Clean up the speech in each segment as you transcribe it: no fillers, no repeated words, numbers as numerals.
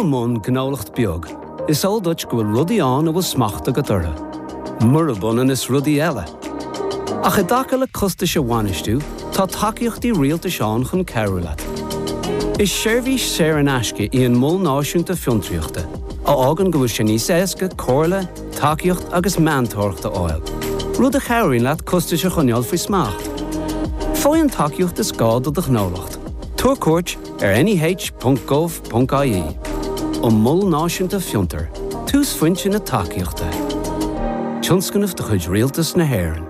i mbun gnólacht beag, is eol duit go bhfuil rudaí ann a bhfuil smacht agat orthu, murab ionann is rudaí eile. Ach i dtaca le costais a bhainistiú, tá tacaíochtaí rialtais ann chun cabhrú leat. Is seirbhís saor in aisce í an Mol Náisiúnta Fiontraíochta, a fhágann go bhfuil sé níos éasca comhairle, tacaíocht agus meantóireacht a fháil, rud a chabhraíonn leat costais a choinneáil faoi smacht. Faigh an tacaíocht is gá do do ghnólacht. Tabhair cuairt ar neh.gov.ie. An Mol Náisiúnta Fiontar, túsphointe na tacaíochta. Tionscnamh de chuid Rialtas na hÉireann.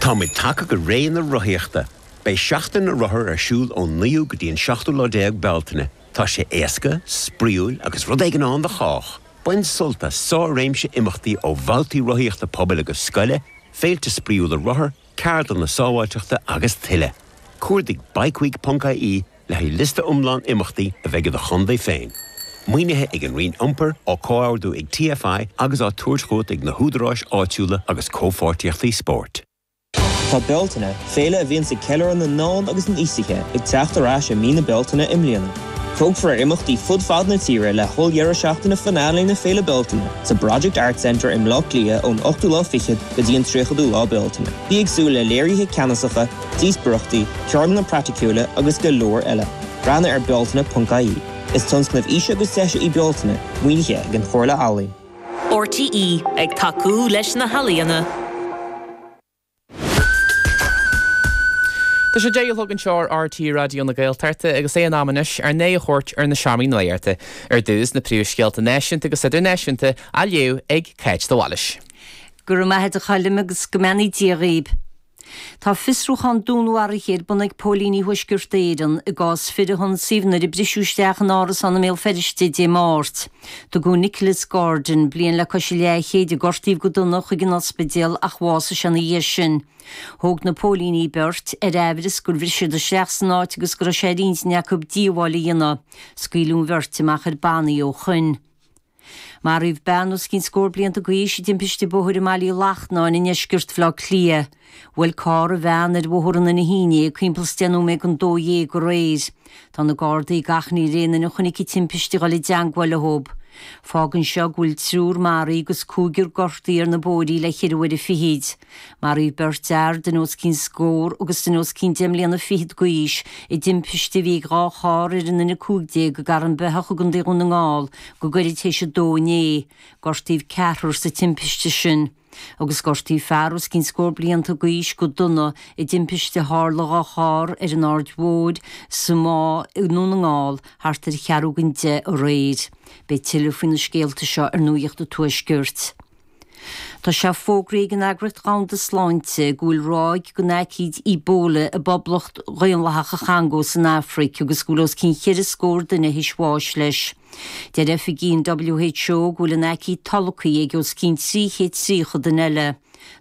Táimid tagtha go ré na rothaíochta! Beidh Seachtain na Rothar ar siúl ón 9ú go dtí an 17ú lá Bealtaine. Tá sé éasca, spraíúil agus rud éigin ann do chách! Bain sult as sár-réimse imeachtaí ó bhabhtaí rothaíochta pobail agus scoile, féilte spraíúla rothar, ceardlanna sábháilteachta agus tuilleadh. Cuardaigh bikeweek.ie le haghaidh liosta iomlán imeachtaí a bheidh i do chontae féin. Maoinithe ag an Roinn Iompair, á comhordú ag TFI agus á tabhairt chugat ag na húdaráis áitiúla agus comhpháirtíochtaí spóirt. Tá Bealtaine, féile a bhíonns ag ceiliúradh na ndán agus na n-aosaithe, ag teacht ar ais i mí na Bealtaine i mbliana. Tógfar ar imeachtaí fud fad na tíre le holl-dheireadh seachtaine finale na Féile Bealtaine sa Project Arts Centre i mBleá Cliath ón ochtú lá fichead go dtí an tríochadú lá Bealtaine. Bí ag súil le léirithe ceannasacha, díospóireachtaí, ceardlanna praiticiúla agus go leor eile. Breathnaigh ar bealtaine.ie. Is tionscnamh Fhís agus Deise í Bealtaine, maoinithe ag an Chomhairle Ealaíon. RTÉ, ag tacú leis na healaíona. Tá sé 10 a chlog anseo ar RTÉ Raidió na Gaeltachta agus é in am anois ár n-aghaidh a thabhairt ar na seomraí nuachta. Ar dtús, na príomhscéalta náisiúnta agus idirnáisiúnta á léamh ag Cáit de Bhailís. Go raibh maith agat a Choilm agus go mbeannaí Dia dhaoib. Tá fiosrúchán dúnmharaithe ar bun ag póilíní Thuaisceart Éireann i gcás fir a hionsaíodh nuair a briseadh isteach in árasán i mBéal Feirste Dé Máirt. Tugadh Nicholas Gordon, bliain le cois a leathchéid, a gortaíodh go dona chuig an ospidéal ach bhásaigh sé ina dhiaidh sin. Thóg na póilíní beirt, ar aimhreas gur bhris siad isteach san áit agus go raibh sé ar intinn acu díobháil a dhéanamh. Scaoileadh an bheirt amach ar bannaí ó shoin. Maraíodh bean os cionn scór blianta d'aois i dtimpiste bóthair i mBaile Uí Lachtnáin i ndeisceart Bhaile Átha Cliath. Bhuail carr an bhean ar Bhóthar an Inigh inné ag timpeall is 10 nóiméad don 12 aréir. Tá na Gardaí ag achainí ar aon duine a chonaic an timpiste a dhul i dteangmháil leo. Fágann seo go bhfuil triúr maraithe agus cúigear gortaithe ar na bóithrí le ceithre uaire fichid. Maraíodh beirt fhear, duine os cionn scór agus duine os cionn deich mbliana fichead d'aois, i dtimpiste a bhí ag 2 charr ar an N15 i gCarn Beitheach i gContae Dhún na nGall go gairid théis a dó inné. Gortaíodh ceathrar sa timpiste sin. Agus gortaíodh fear os cionn scór blianta d'aois go dona i dtimpiste a tharla do dhá charr ar an Aird Mhóir sa Máigh i nDún na nGall thart ar cheathrú don 10 aréir. Beidh tuilleadh faoi na scéalta seo ar Nuacht an Tuaiscirt. Tá sé fógraithe ag an Eagraíocht Dhomhanda Sláinte go bhfuil ráig den aicíd Ebola i bPoblacht Dhaonlathach an Chongó san Afraic agus go bhfuil os cionn cheithre scór duine théis bháis leis. Deir oifigigh an WHO go bhfuil an aicíd tolgtha ag os cionn 330 duine eile.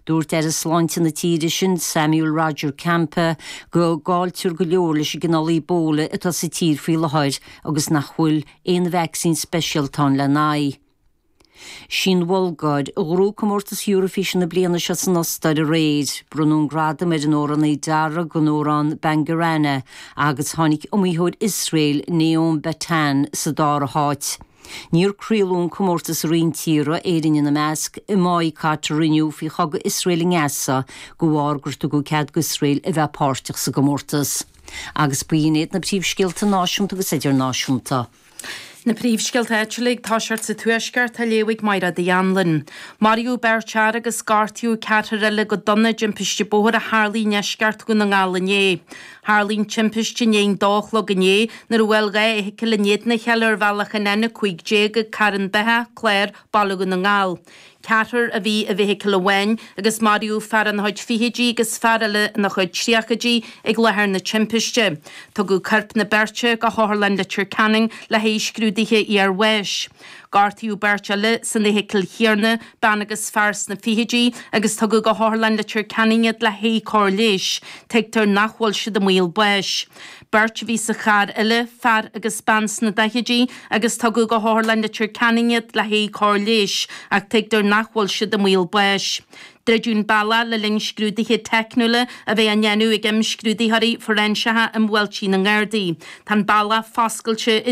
Dúirt Aire Sláinte na tíre sin, Samuel Roger Kamba, go gcailltear go leor leis an gcineál Ebola atá sa tír faoi láthair agus nach bhfuil aon vacsaín speisialta ann lena aghaidh. Sí an Bhulgáir a ghnóthaigh comórtas Eurovision na bliana seo san Ostáir aréir. Bronnadh an gradam ar an amhránaí Darag don amhrán Bangarana agus tháinig iomaitheoir Iosrael, Noam Bettan, sa dara háit. Níor craoladh an comórtas i roinnt tíortha, Éirinn ina measc, i mbaghcat a rinneadh faoi chogadh Iosrael i nGaza de bharr gur tugadh cead d'Iosrael a bheith páirteach sa gcomórtas. Agus b'in iad na príomhscéalta náisiúnta agus idirnáisiúnta. Na príomhscéalta áitiúla ag toiseacht sa Tuaisceart á léamh ag Mairéad Uí Anluain. Maraíodh beirt fhear agus gortaíodh ceathrar eile go dona i dtimpiste bóthair a tharlaigh i ndeisceart Dhún na nGall inné. Tharlaigh an timpiste i ndiaidh an dó a chlog inné nuair a bhuail 2 fheithicil in éadan a chéile ar bhealach an N15 ag Carn Beitheach, Clár, Baile Dhún na nGall. Ceathrar a bhí i bhfeithicil amháin agus maraíodh fear ina chuid fichidí agus fear eile ina chuid tríochaidí ag láthair na timpiste. Tugadh coirp na beirte go hOtharlann Leitir Ceanainn le haghaidh scrúduithe iarbháis. Gortaíodh beirt eile san fheithicil chéanna, bean agus fear sna fichidí, agus tugadh go hOtharlann Leitir Ceanainn iad le haghaidh cóir leighis. Tuigtear nach bhfuil siad i mbaol báis. Beirt a bhí sa charr eile, fear agus bean sna daichidí, agus tugadh go hOtharlann Leitir Ceanainn iad le haghaidh cóir leighis, ach tuigtear nach bhfuil siad i mbaol báis. Druideadh an bealach le linn scrúduithe teicniúla a bheith á ndéanamh ag imscrúdaitheoirí fóiréinseacha i mbuailtí na nGardaí. Tá an bealach foscailte arís.